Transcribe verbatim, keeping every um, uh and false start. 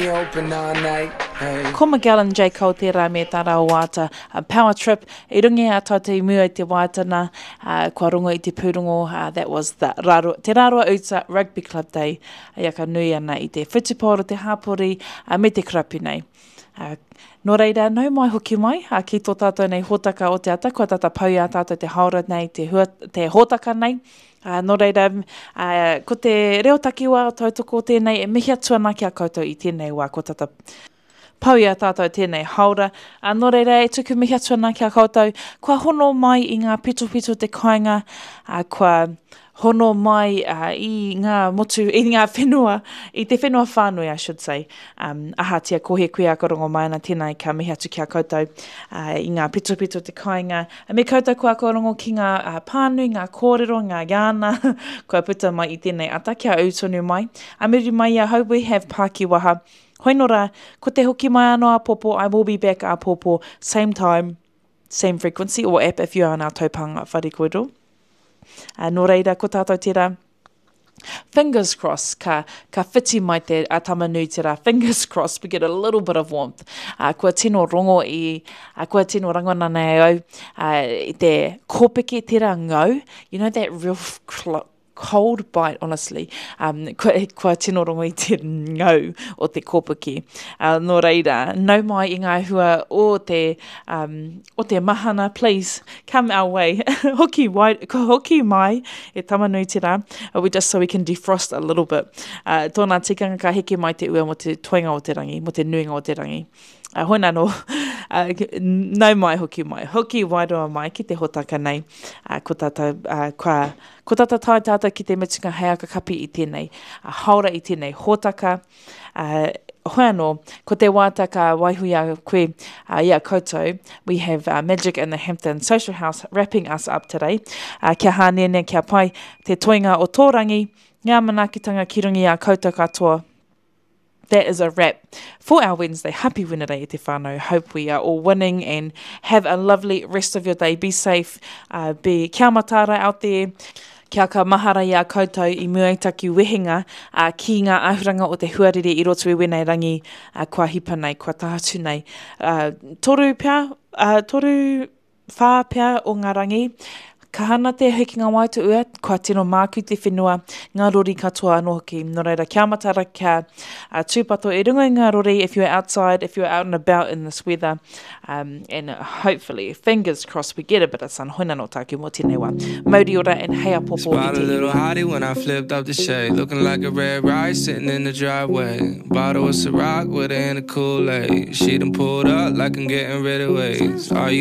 Open all night. Hey. Ko Miguel and J. Cole tērā me tā rāua waiata a Power Trip. I runga i a tātou i mua i te waiata nā, uh, kua rongo i te pūrongo, uh, that was the Raro, Te Rarawa Uta Rugby Club Day, e aka nui ana i te whutupaoro, te hāpori, uh, me te karapu nei. Uh, nō reira, nau mai hoki mai, uh, ki tō tātou nei hōtaka o te ata, kua tata pau i a tātou te haora nei, te, hua, te hōtaka nei. Uh, nō reira, uh, ko te reo takiwā o tautoko tēnei, e mihi atu ana ki a koutou i tēnei wā, kua tata pau i a tātou tēnei haora. Uh, nō reira, e tuku mihi atu ana ki a koutou, kua hono mai i ngā pitopito te kāinga, uh, kua hono mai uh, i ngā motu, i ngā whenua, i te whenua whānui, I should say. Um, ahatia ko he kuia ka rongo mai ana tēnei ka mihi atu ki a koutou uh, i ngā pitopito te kāinga. Me koutou kua ka rongo ki ngā uh, pānui, ngā kōrero, ngā iāna, kua puta mai i tēnei ata, kia ū tonu mai. A muri mai i ahau, we have Pākiwaha. Hoinora, ko te hoki mai anō āpōpō, I will be back āpōpō, same time, same frequency, or app if you are on our taupānga whare kōrero. Uh, nō reira, ko tātou tērā, fingers crossed, ka, ka whiti mai te a Tamanuiterā, fingers crossed, we get a little bit of warmth. Uh, kua tino rongo i, uh, kua tino rangona nei au, uh, i te kōpeke tērā ngau, you know that real cold bite, honestly. Um, kua, kua tino rongo i te ngau o te kōpeke. Uh, nō reira, nau mai i ngā hua o te, um, o te mahana, please, come our way. Hoki, wai, hoki mai e Tamanuiterā, uh, we just so we can defrost a little bit. Uh, tōna tikanga ka heke mai te ua mo te toenga o te rangi, mo te nuinga o te rangi. Uh, hoi anō, uh, nau mai hoki mai, hoki wairua mai ki te hōtaka nei. Uh, ko tātou, uh, kua, ko tātou tae tātou ki te mutunga hei aka kapi i tēnei, uh, haora i tēnei hōtaka. Uh, hoi anō, ko te waiata ka waiho i a koe, uh, i a koutou, we have uh, Magic in the Hampton Social House wrapping us up today. Uh, kia hāneanea, kia pai te toenga o tō rangi, ngā manaakitanga ki runga i a koutou katoa. That is a wrap for our Wednesday. Happy Wednesday e te whānau. Hope we are all winning and have a lovely rest of your day. Be safe. Uh, be kia mataara out there. Kia ka mahara i a koutou i mua i taku wehenga uh, ki ngā āhuranga o te huarere i roto i wēnei rangi uh, kua hipa nei, kua tahatu nei. Uh, toru pea, uh, toru whā pea o ngā rangi. Ka hana te hekenga wai te ua, kua tino māku te whenua, ngā rori katoa anō hoki. Nō reira, kia matara, kia uh, tūpato i runga i ngā rori if you're outside, if you're out and about in this weather. Um, and hopefully, fingers crossed, we get a bit of sun. Hoi anō tāku mō tēnei wā. Mauri ora and hei āpōpō i Spot te a little iwi. Hottie when I flipped up the shade. Looking like a red rice sitting in the driveway. Bottle of Ciroc with her in the Kool-Aid. She done pulled up like I'm getting rid of ways. Are you